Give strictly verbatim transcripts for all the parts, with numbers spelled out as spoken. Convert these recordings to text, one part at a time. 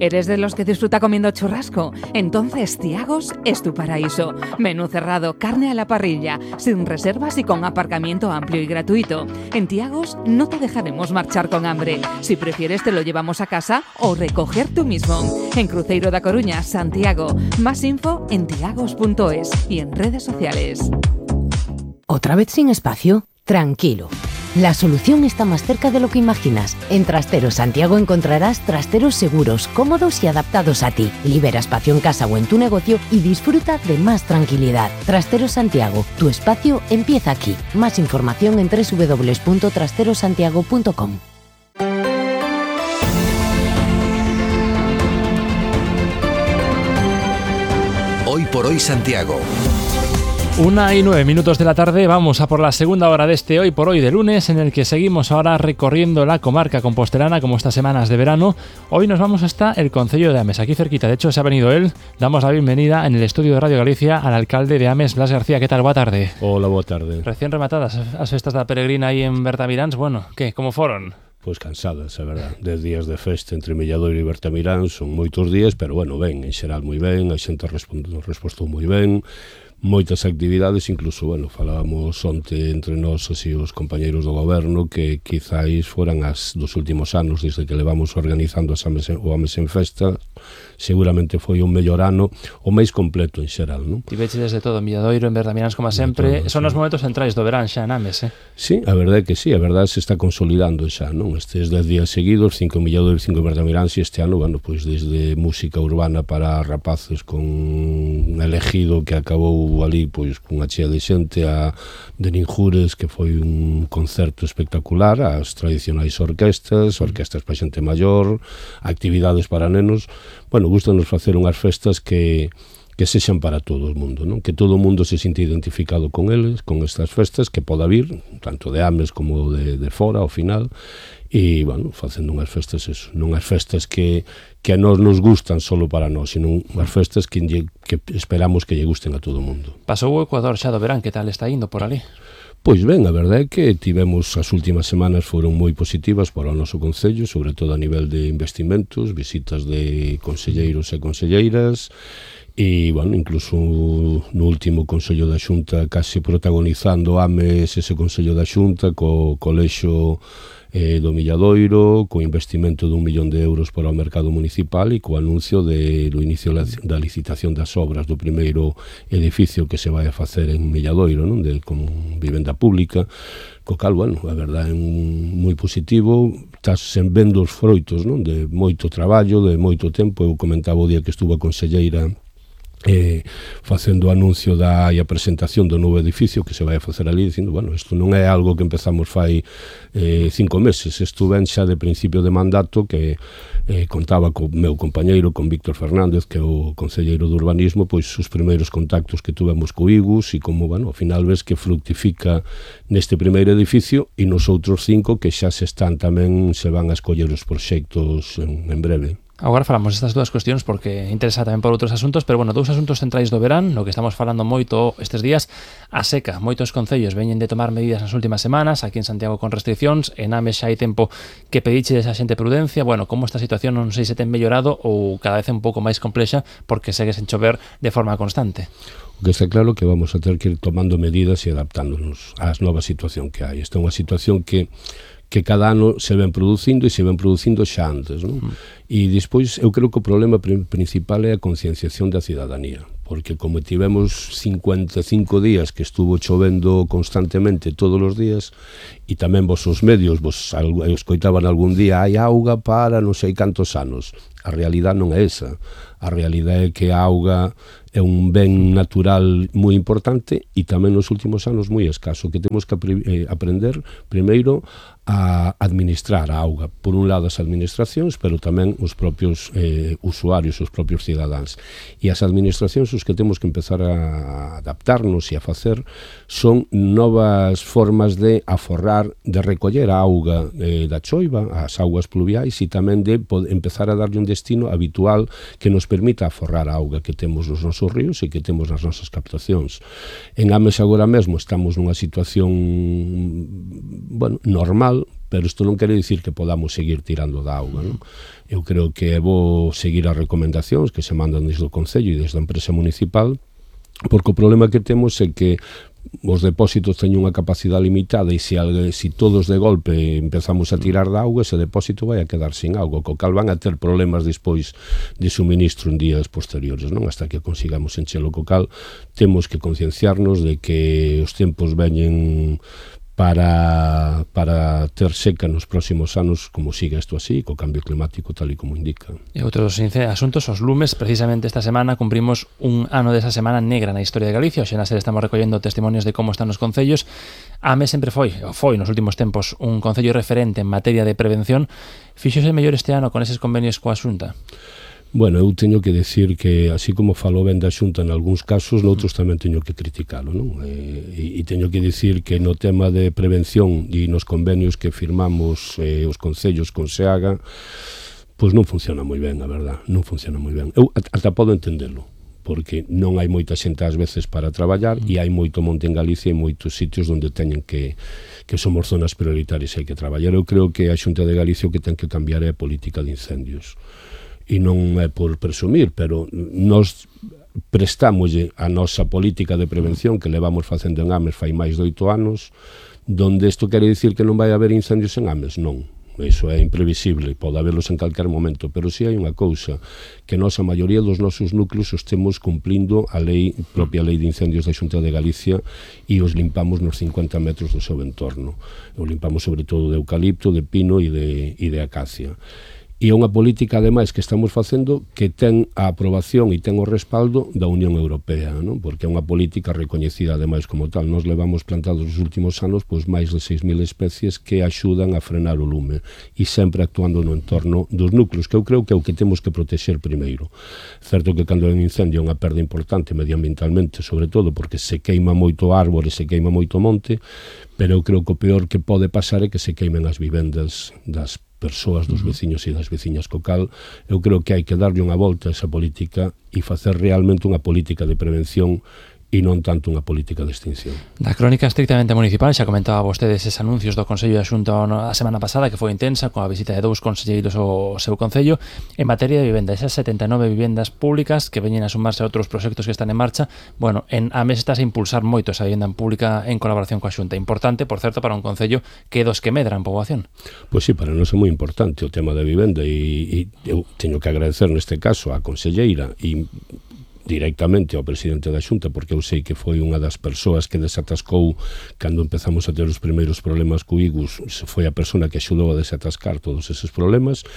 ¿Eres de los que disfruta comiendo churrasco? Entonces Tiagos es tu paraíso. Menú cerrado, carne a la parrilla, sin reservas y con aparcamiento amplio y gratuito. En Tiagos no te dejaremos marchar con hambre. Si prefieres te lo llevamos a casa o recoger tú mismo. En Cruzeiro da Coruña, Santiago. Más info en tiagos punto es y en redes sociales. ¿Otra vez sin espacio? Tranquilo. La solución está más cerca de lo que imaginas. En Trasteros Santiago encontrarás trasteros seguros, cómodos y adaptados a ti. Libera espacio en casa o en tu negocio y disfruta de más tranquilidad. Trasteros Santiago, tu espacio empieza aquí. Más información en doble u doble u doble u punto trasteros santiago punto com. Hoy por hoy Santiago. Una y nueve minutos de la tarde, vamos a por la segunda hora de este Hoy por Hoy de lunes, en el que seguimos ahora recorriendo la comarca compostelana como estas semanas de verano. Hoy nos vamos hasta el concello de Ames, aquí cerquita. De hecho, se ha venido él. Damos la bienvenida en el estudio de Radio Galicia al alcalde de Ames, Blas García. ¿Qué tal? Boa tarde. Hola, boa tarde. Recién rematadas as festas da peregrina aí en Bertamiráns. Bueno, que, como foron? Pois cansadas, é verdad. Dez días de festa entre Milladoiro e Bertamiráns, son moitos días, pero bueno, ben, en xeral moi ben, a xente respostou moi ben, moitas actividades, incluso, bueno, falábamos onte entre nós así os compañeiros do goberno que quizáis foran as dos últimos anos desde que levamos organizando as Ames, o Ames en Festa, seguramente foi un mellor ano, o máis completo en xeral, non? Tiveche desde todo, Milladoiro, en Bertamiráns, como sempre, todo, son sí. Os momentos centrais do verán xa en Ames, eh? Sí, a verdade é que sí, a verdade se está consolidando xa, non? Estes dez días seguidos, cinco en Milladoiro e cinco en Bertamiráns, e este ano, bueno, pois desde música urbana para rapaces con un elegido que acabou ali pois cunha chea de xente, a de Ninjures, que foi un concerto espectacular, as tradicionais orquestas, orquestas para xente maior, actividades para nenos. Bueno, gustanos facer unhas festas que que sexan para todo o mundo, non? Que todo o mundo se sinte identificado con eles, con estas festas, que poda vir, tanto de Ames como de, de fora, ao final, e, bueno, facendo unhas festas, eso, non as festas que, que a nós nos gustan solo para nós, sino unhas festas que, que esperamos que lle gusten a todo o mundo. Pasou o Ecuador xa do verán, que tal está indo por ali? Pois ben, a verdade é que tivemos as últimas semanas foron moi positivas para o noso concello, sobre todo a nivel de investimentos, visitas de conselleiros e conselleiras, e, bueno, incluso no último Consello da Xunta case protagonizando Ames ese Consello da Xunta co colexo eh, do Milladoiro, co investimento dun millón de euros para o mercado municipal e co anuncio de, do inicio da licitación das obras do primeiro edificio que se vai a facer en Milladoiro, non? De, con vivenda pública, co cal, bueno, a verdade é moi positivo, estás sen vendo os froitos, non? De moito traballo, de moito tempo. Eu comentaba o día que estuvo a conselleira Eh, facendo o anuncio da e a presentación do novo edificio que se vai a facer ali, dicindo, bueno, isto non é algo que empezamos fai eh, cinco meses, isto ven xa de principio de mandato, que eh, contaba co meu compañeiro, con Víctor Fernández, que é o concelleiro de urbanismo, pois os primeiros contactos que tuvemos co Igus, e como, bueno, ao final ves que fructifica neste primeiro edificio e nos outros cinco que xa se están tamén, se van a escoller os proxectos en, en breve. Agora falamos destas dúas cuestións porque interesa tamén por outros asuntos, pero bueno, dous asuntos centrais do verán, no que estamos falando moito estes días, a seca. Moitos concellos veñen de tomar medidas nas últimas semanas, aquí en Santiago con restriccións, en Ames xa hai tempo que pediche esa xente prudencia. Bueno, como esta situación non sei se ten mellorado ou cada vez é un pouco máis complexa porque segue sen chover de forma constante. O que está claro que vamos a ter que ir tomando medidas e adaptándonos ás nova situación que hai. Esta é unha situación que que cada ano se ven producindo e se ven producindo xa antes, non? Mm. E despois eu creo que o problema principal é a concienciación da cidadanía, porque como tivemos cincuenta e cinco días que estuvo chovendo constantemente todos os días, e tamén vos os medios vos escoitaban algún día hai auga para non sei cantos anos, a realidade non é esa. A realidade é que a auga é un ben natural moi importante e tamén nos últimos anos moi escaso, que temos que eh, aprender primeiro a administrar a auga. Por un lado as administracións, pero tamén os propios eh, usuarios, os propios cidadáns. E as administracións os que temos que empezar a adaptarnos e a facer son novas formas de aforrar tratar de recoller a auga eh, da choiva, as augas pluviais, e tamén de poder empezar a darlle un destino habitual que nos permita aforrar a auga que temos nos nosos ríos e que temos nas nosas captacións. En Ames agora mesmo estamos nunha situación, bueno, normal, pero isto non quere dicir que podamos seguir tirando da auga, non? Eu creo que é bo seguir as recomendacións que se mandan desde o Concello e desde a empresa municipal, porque o problema que temos é que os depósitos teñen unha capacidade limitada e se, se todos de golpe empezamos a tirar da auga, ese depósito vai a quedar sin auga, co cal van a ter problemas despois de suministro en días posteriores, non? Hasta que consigamos enchelo, co cal temos que concienciarnos de que os tempos veñen para, para ter seca nos próximos anos, como siga isto así, co cambio climático tal e como indica. E outros asuntos, os lumes. Precisamente esta semana cumprimos un ano desa semana negra na historia de Galicia. Hoxe na serie estamos recollendo testimonios de como están os concellos. Ames sempre foi, ou foi nos últimos tempos, un concello referente en materia de prevención. Fíxose mellor este ano con eses convenios coa Xunta? Bueno, eu teño que decir que, así como falou ben da Xunta en algúns casos, noutros tamén teño que criticalo, non? E, e teño que decir que no tema de prevención e nos convenios que firmamos eh, os concellos con SEAGA, pois non funciona moi ben, a verdad, non funciona moi ben. Eu ata podo entendelo, porque non hai moita xente ás veces para traballar e hai moito monte en Galicia e moitos sitios onde teñen que que somos zonas prioritarias e hai que traballar. Eu creo que a Xunta de Galicia o que ten que cambiar é a política de incendios. E non é por presumir, pero nos prestámoslle a nosa política de prevención que levamos facendo en Ames fai máis de oito anos, donde isto quere dicir que non vai haber incendios en Ames, non. Iso é imprevisible, pode haberlos en calquer momento, pero si hai unha cousa, que nós a maioría dos nosos núcleos estemos cumplindo a lei, propia lei de incendios da Xunta de Galicia, e os limpamos nos cincuenta metros do seu entorno. O limpamos sobre todo de eucalipto, de pino e de, e de acacia. E é unha política, ademais, que estamos facendo que ten a aprobación e ten o respaldo da Unión Europea, non? Porque é unha política recoñecida, ademais, como tal. Nos levamos plantados nos últimos anos pois máis de seis mil especies que axudan a frenar o lume e sempre actuando no entorno dos núcleos, que eu creo que é o que temos que protexer primeiro. Certo que cando hai un incendio é unha perda importante medioambientalmente, sobre todo porque se queima moito árbore, se queima moito monte, pero eu creo que o peor que pode pasar é que se queimen as vivendas das persoas, dos veciños e das veciñas, co cal eu creo que hai que darlle unha volta a esa política e facer realmente unha política de prevención e non tanto unha política de extinción. Da crónica estrictamente municipal, xa comentaba vostede eses anuncios do Consello da Xunta a semana pasada, que foi intensa, coa visita de dous conselleiros ao seu Concello. En materia de vivenda, esas setenta e nove vivendas públicas que veñen a sumarse a outros proxectos que están en marcha, bueno, en Ames estás a impulsar moito esa vivenda pública en colaboración coa Xunta. Importante, por certo, para un Concello que é dos que medran poboación. Pois sí, para nós é moi importante o tema da vivenda e, e eu teño que agradecer neste caso á conselleira e directamente ao presidente da Xunta, porque eu sei que foi unha das persoas que desatascou cando empezamos a ter os primeiros problemas co Igus, foi a persona que axudou a desatascar todos eses problemas,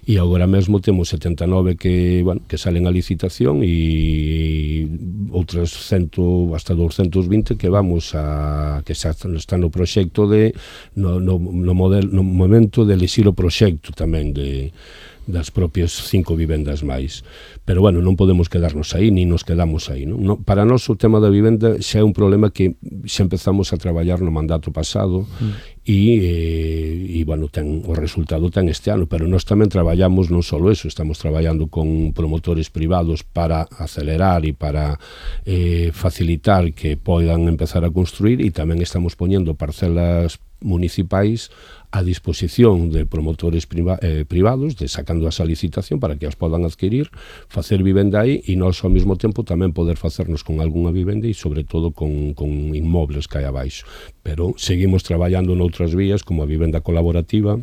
e agora mesmo temos setenta e nove que, bueno, que salen a licitación e outras cento hasta doscientos vinte que vamos a que xa está no proxecto de no, no, no, model, no momento de elixir o proxecto tamén de das propias cinco vivendas máis. Pero, bueno, non podemos quedarnos aí, ni nos quedamos aí, non? No, para nós o tema da vivenda xa é un problema que xa empezamos a traballar no mandato pasado mm. e, e, bueno, ten, o resultado ten este ano, pero nós tamén traballamos non só eso, estamos traballando con promotores privados para acelerar e para eh, facilitar que poidan empezar a construir, e tamén estamos poñendo parcelas municipais a disposición de promotores priva, eh, privados, de sacando esa licitación para que as podan adquirir, facer vivenda aí e nós ao mesmo tempo tamén poder facernos con algunha vivenda e sobre todo con, con inmobles que hai abaixo. Pero seguimos traballando noutras vías como a vivenda colaborativa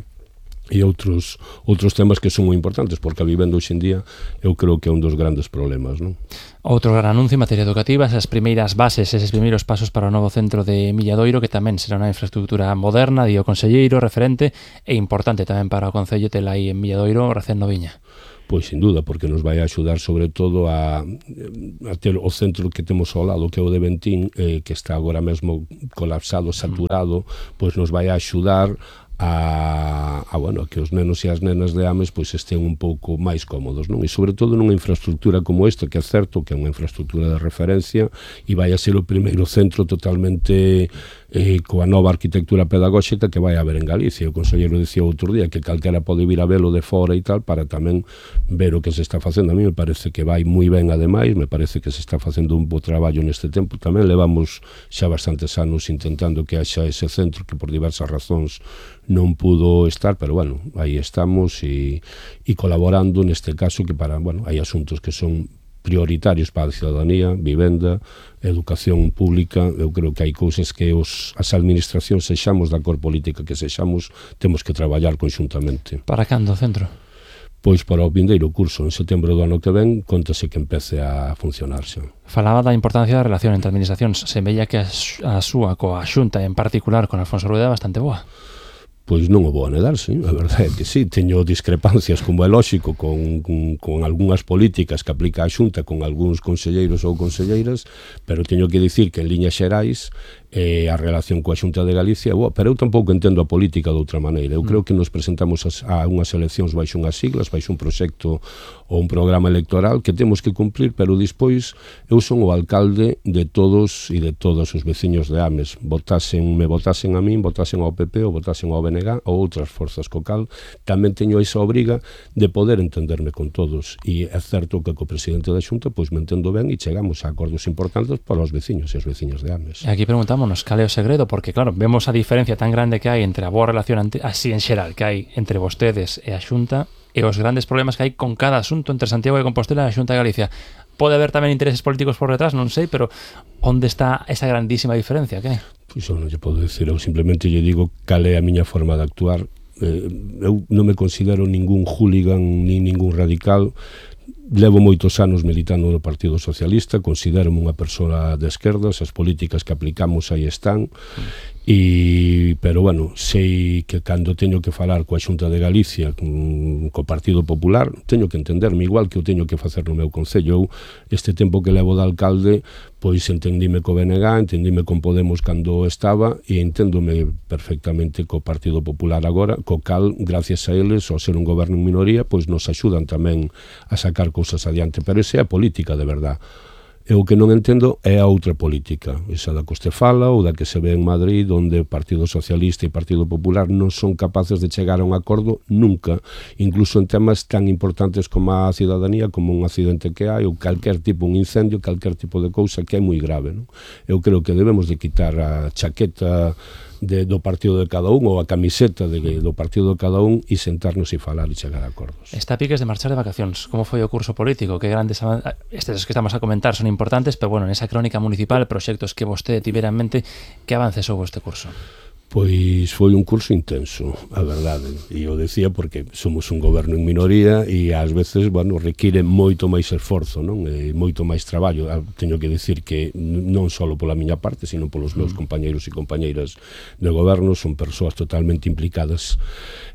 e outros outros temas que son moi importantes, porque a vivenda hoxe en día eu creo que é un dos grandes problemas, non? Outro gran anuncio en materia educativa, esas primeiras bases, eses primeiros pasos para o novo centro de Milladoiro, que tamén será unha infraestructura moderna, di o conselleiro, referente e importante tamén para o Concello tela aí en Milladoiro, recén noviña. Pois sin duda, porque nos vai a axudar sobre todo a, a ter o centro que temos ao lado, que é o de Bentín, eh, que está agora mesmo colapsado, saturado, pois nos vai a axudar a, a, bueno, a que os nenos e as nenas de Ames pois estén un pouco máis cómodos, non? E sobre todo nunha infraestructura como esta, que é certo que é unha infraestructura de referencia e vai a ser o primeiro centro totalmente eh, coa nova arquitectura pedagóxica que vai haber en Galicia. O conselleiro dicía outro día que calquera pode vir a velo de fora e tal para tamén ver o que se está facendo. A mí me parece que vai moi ben, ademais, me parece que se está facendo un bo traballo neste tempo. Tamén levamos xa bastantes anos intentando que haxa ese centro que por diversas razóns non pudo estar, pero bueno, aí estamos e, e colaborando neste caso que para, bueno, hai asuntos que son prioritarios para a ciudadanía, vivenda, educación pública. Eu creo que hai cousas que os, as administracións, sexamos da cor política que sexamos, temos que traballar conxuntamente. Para cando o centro? Pois para o vindeiro curso, en setembro do ano que ven, contase que empece a funcionarse. Falaba da importancia da relación entre administracións. Se veía que a, a súa coa Xunta, en particular con Alfonso Rueda, é bastante boa. Pois non o vou a nedar, sí, a verdade é que sí, teño discrepancias, como é lóxico, con, con, con algunhas políticas que aplica a Xunta, con algúns conselleiros ou conselleiras, pero teño que dicir que en liñas xerais eh, a relación coa Xunta de Galicia, boa, pero eu tampouco entendo a política de outra maneira. Eu creo que nos presentamos a, a unhas eleccións baixo unhas siglas, baixo un proxecto ou un programa electoral que temos que cumplir, pero despois eu son o alcalde de todos e de todos os veciños de Ames. Votasen, me votasen a min, votasen ao P P ou votasen ao B N G ou outras forzas co cal, tamén teño esa obriga de poder entenderme con todos. E é certo que co presidente da Xunta pois me entendo ben e chegamos a acordos importantes para os veciños e as veciñas de Ames. E aquí preguntámonos cal é o segredo, porque claro, vemos a diferencia tan grande que hai entre a boa relación ante, así en xeral que hai entre vostedes e a Xunta e os grandes problemas que hai con cada asunto entre Santiago de Compostela e a Xunta de Galicia. Pode haber tamén intereses políticos por detrás, non sei, pero onde está esa grandísima diferencia? Que? Pois eu non lle podo dicir, eu simplemente lle digo cal é a miña forma de actuar. Eh, eu non me considero ningún hooligan ni ningún radical. Levo moitos anos militando no Partido Socialista, considero unha persoa de esquerdas, as políticas que aplicamos aí están. E, pero bueno, sei que cando teño que falar coa Xunta de Galicia, con, co Partido Popular, teño que entenderme igual que eu teño que facer no meu concello. Eu, este tempo que levo de alcalde, pois entendíme co B N G, entendíme con Podemos cando estaba e enténdome perfectamente co Partido Popular agora, co cal, gracias a eles, ao ser un goberno en minoría, pois nos axudan tamén a sacar cousas adiante, pero esa é a política de verdade. E o que non entendo é a outra política, esa da que este fala ou da que se ve en Madrid, onde o Partido Socialista e o Partido Popular non son capaces de chegar a un acordo nunca, incluso en temas tan importantes como a cidadanía, como un accidente que hai, ou calquer tipo, un incendio, calquer tipo de cousa que é moi grave, non? Eu creo que debemos de quitar a chaqueta de, do partido de cada un ou a camiseta de, do partido de cada un e sentarnos e falar e chegar a acordos. Está a piques de marchar de vacacións. Como foi o curso político? Que grandes estes que estamos a comentar son importantes, pero bueno, nesa crónica municipal, proxectos que vostede tivera en mente, que avances houve este curso? Pois foi un curso intenso, a verdade, e eu decía porque somos un goberno en minoría e ás veces, bueno, require moito máis esforzo, non? E moito máis traballo. Teño que decir que non só pola miña parte, sino polos meus compañeiros e compañeiras de goberno, son persoas totalmente implicadas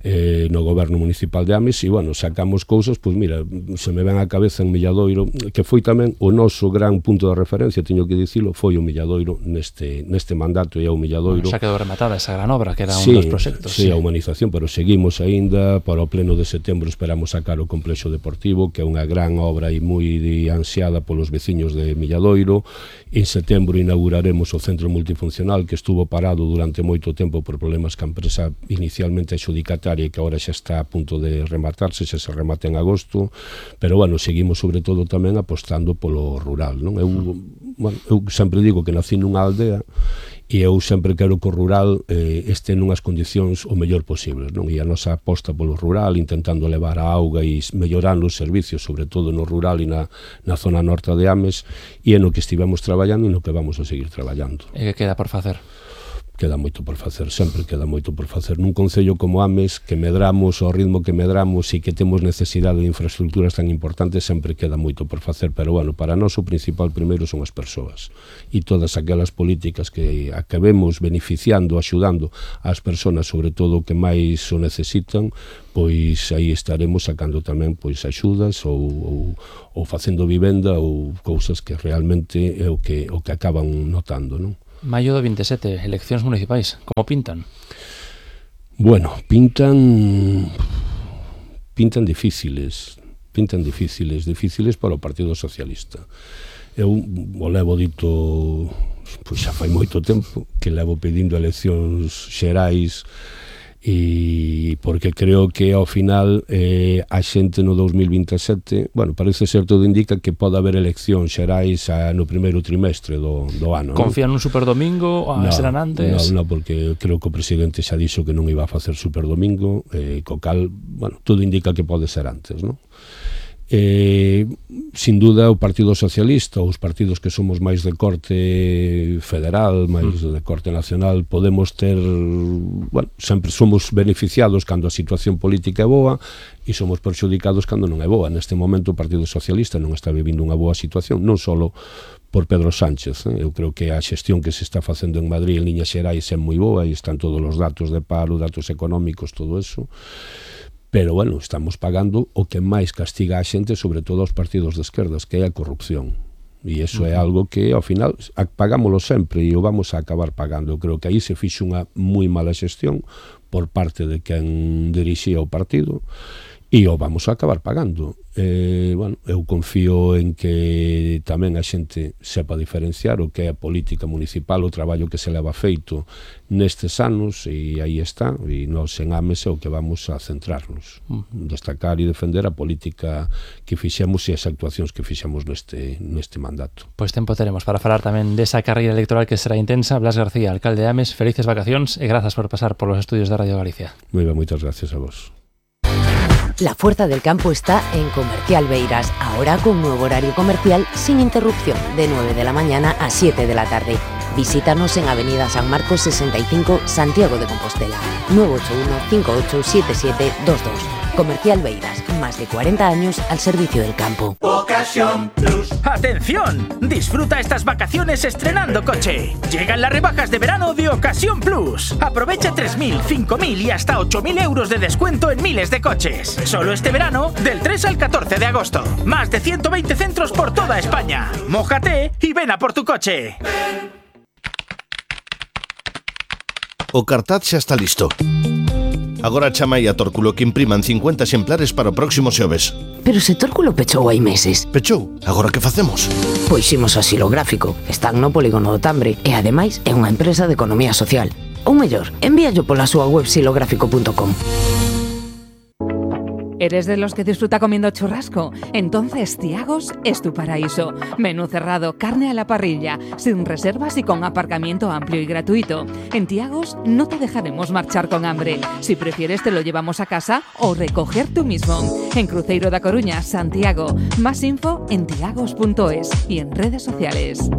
eh, no goberno municipal de Ames e, bueno, sacamos cousas, pois mira, se me ven a cabeza en Milladoiro, que foi tamén o noso gran punto de referencia, teño que dicilo, foi o Milladoiro neste, neste mandato e o Milladoiro. Bueno, xa quedou rematada esa gran obra, que era sí, un dos proxectos. Sí, sí, a humanización, pero seguimos aínda, para o pleno de setembro esperamos sacar o complexo deportivo, que é unha gran obra e moi ansiada polos veciños de Milladoiro. En setembro inauguraremos o centro multifuncional que estuvo parado durante moito tempo por problemas que a empresa inicialmente adxudicataria e que agora xa está a punto de rematarse, xa se remata en agosto, pero bueno, seguimos sobre todo tamén apostando polo rural, non? Eu, bueno, eu sempre digo que nací nunha aldea e eu sempre quero que o rural eh, este nunhas condicións o mellor posible, non? E a nosa aposta polo rural, intentando levar a auga e mellorar os servicios, sobre todo no rural e na, na zona norte de Ames, e é no que estivemos traballando e no que vamos a seguir traballando. E que queda por facer? Queda moito por facer, sempre queda moito por facer. Nun concello como Ames, que medramos ao ritmo que medramos e que temos necesidade de infraestructuras tan importantes, sempre queda moito por facer, pero bueno, para nós o principal primeiro son as persoas e todas aquelas políticas que acabemos beneficiando, axudando ás persoas, sobre todo que máis o necesitan, pois aí estaremos sacando tamén pois axudas ou, ou, ou facendo vivenda ou cousas que realmente é o que, o que acaban notando, non? Maio do vinte e sete, eleccións municipais, como pintan? Bueno, pintan pintan difíciles, pintan difíciles, difíciles para o Partido Socialista. Eu o levo dito, pois xa fai moito tempo que levo pedindo eleccións xerais, e porque creo que ao final eh, a xente no dous mil vinte e sete, bueno, parece ser, todo indica que pode haber eleccións xerais a, no primeiro trimestre do, do ano. Confían nun superdomingo ou no, serán antes? No, no, porque creo que o presidente xa dixo que non iba a facer superdomingo, eh, co cal, bueno, todo indica que pode ser antes, non? Eh, sin duda o Partido Socialista, os partidos que somos máis de corte federal, máis de corte nacional, podemos ter, bueno, sempre somos beneficiados cando a situación política é boa e somos perxudicados cando non é boa. Neste momento o Partido Socialista non está vivindo unha boa situación, non só por Pedro Sánchez, eh? Eu creo que a xestión que se está facendo en Madrid en liñas xerais é moi boa e están todos os datos de paro, datos económicos, todo eso. Pero, bueno, estamos pagando o que máis castiga a xente, sobre todo aos partidos de esquerdas, que é a corrupción. E iso é algo que, ao final, pagámoslo sempre e o vamos a acabar pagando. Eu creo que aí se fixe unha moi mala xestión por parte de quen dirixía o partido e o vamos a acabar pagando. Eh, bueno, eu confío en que tamén a xente sepa diferenciar o que é a política municipal, o traballo que se leva feito nestes anos, e aí está, e nos en Ames é o que vamos a centrarnos, destacar e defender a política que fixemos e as actuacións que fixemos neste, neste mandato. Pois tempo teremos para falar tamén desa carreira electoral que será intensa. Blas García, alcalde de Ames, felices vacacións e grazas por pasar por los estudios de Radio Galicia. Moi ben, moitas gracias a vos. La fuerza del campo está en Comercial Beiras, ahora con nuevo horario comercial sin interrupción, de nueve de la mañana a siete de la tarde. Visítanos en Avenida San Marcos sesenta y cinco, Santiago de Compostela, nueve ocho uno, cinco ocho siete siete dos dos. Comercial Beiras, más de cuarenta años al servicio del campo. Ocasión Plus. ¡Atención! Disfruta estas vacaciones estrenando coche. Llegan las rebajas de verano de Ocasión Plus. Aprovecha tres mil, cinco mil y hasta ocho mil euros de descuento en miles de coches. Solo este verano, del tres al catorce de agosto. Más de ciento veinte centros por toda España. Mójate y ven a por tu coche. O cartaz xa está listo. Agora chamai a Tórculo que impriman cincuenta exemplares para o próximo xoves. Pero se Tórculo pechou hai meses. Pechou? Agora que facemos? Pois imos ao Xilográfico. Están no Polígono do Tambre e ademais é unha empresa de economía social. Ou mellor, envíallo pola súa web xilográfico punto com. ¿Eres de los que disfruta comiendo churrasco? Entonces Tiagos es tu paraíso. Menú cerrado, carne a la parrilla, sin reservas y con aparcamiento amplio y gratuito. En Tiagos no te dejaremos marchar con hambre. Si prefieres te lo llevamos a casa o recoger tú mismo. En Cruzeiro da Coruña, Santiago. Más info en tiagos punto es y en redes sociales.